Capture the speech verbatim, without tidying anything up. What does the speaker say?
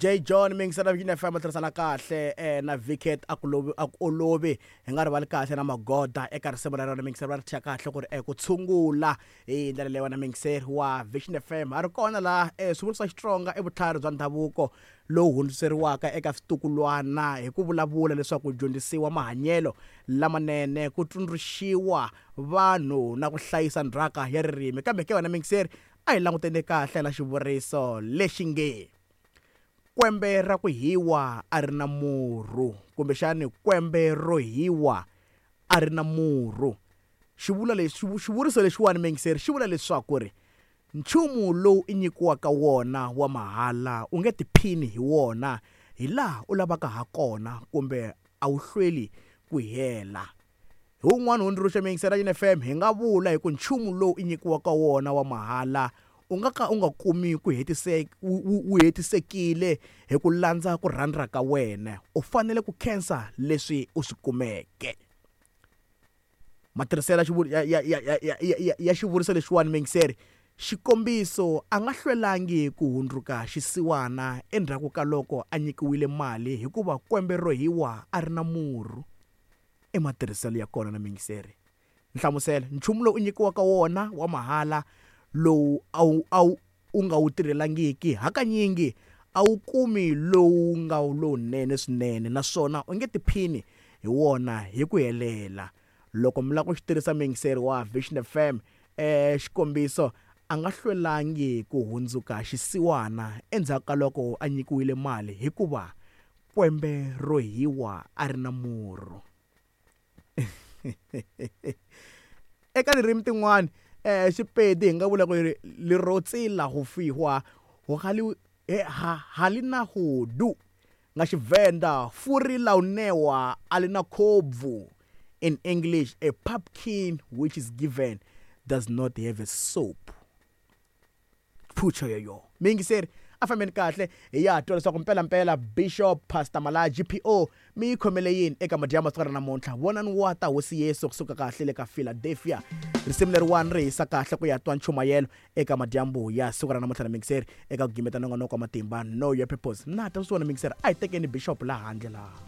J John mingisela Vision F M tirhisana kahle eh, na Vicket a ku lovi a ku olovi hi nga rivali kahle na magoda eka risimu ra rona mingiseri va ri thya kahle ku ri eh, ku tshungula hi ndlela leyi wena mingiseri wa Vision F M a ri kona laha eh, swivuriso swa Xitsonga i vutlhari bya ndhavuko lowu hundziseriwaka eka switukulwana hi ku vulavula leswaku dyondzisiwa mahanyelo lamanene ku tsundzuxiwa vanhu na ku hlayisa ndzhaka ya ririmi kambe ke wena mingiseri a hi languteni kahle na xivuriso lexi nge kwembe ra ku hiwa a ri na murhu kumbexani kwembe ro hiwa a ri na murhu xivula lexi xivuriso lexiwani mingiseri xi vula leswaku ri nchumu lowu i nyikiwaka wona wa mahala u nge tiphini hi wona hi laha u lavaka ha kona kumbe a wu hlweli ku hela hi wun'wana hundzuluxa mingisera Yini F M hi nga vula hi ku nchumu lowu i nyikiwaka wona wa mahala u nga ka u nga kumi ku hetiseka wu hetisekile hi ku landza ku rhandza ka wena u fanele ku khensa leswi u swi kumeke matirhiselo ya ya ya ya ya ya xivuriso lexiwani mingiseri xikombiso a nga hlwelangi ku hundzuka xisiwana endzhaku ka loko a nyikiwile mali hikuva kwembe ro hiwa a ri na murhu i matirhiselo ya kona na mingiseri nhlamuselo nchumu lowu u nyikiwaka wona wa mahala lowu a wu a wu u nga wu tirhelangiki hakanyingi a wu kumi lowu nga lowunene swinene naswona u nge tiphini hi wona hi ku helela loko mi lava ku xi tirhisa mingiseri wa Vision F M eh xikombiso a nga hlwelangi ku hundzuka xisiwana endzhaku ka loko a nyikiwile mali hikuva kwembe ro hiwa a ri na murhu eka ririmi tin'wani eh Xipedi hi nga vula ku ri lerotsi la go fihwa ho gali ha halina hudu nga Xivenda furi la unewa alina khobvu. In English, a pumpkin which is given does not have a soap. Phucho yoyo mingiseri a fambeni kahle hi ya twa leswaku mpela mpela Bishop Pastor Malaya G P O mi yi khomele yini eka madyambu siku ra namuntlha vonani wa ta hosi Yesu kusuka kahle le ka Philadelphia risimu leriwani ri hisa kahle ku ya twa nchumayelo eka madyambu ya siku ra namuntlha na mingiseri eka ku gimeta nongonoko wa matimba Know Your Purpose na ta swi vona mingiseri a hi tekeni Bishop laha handle laha.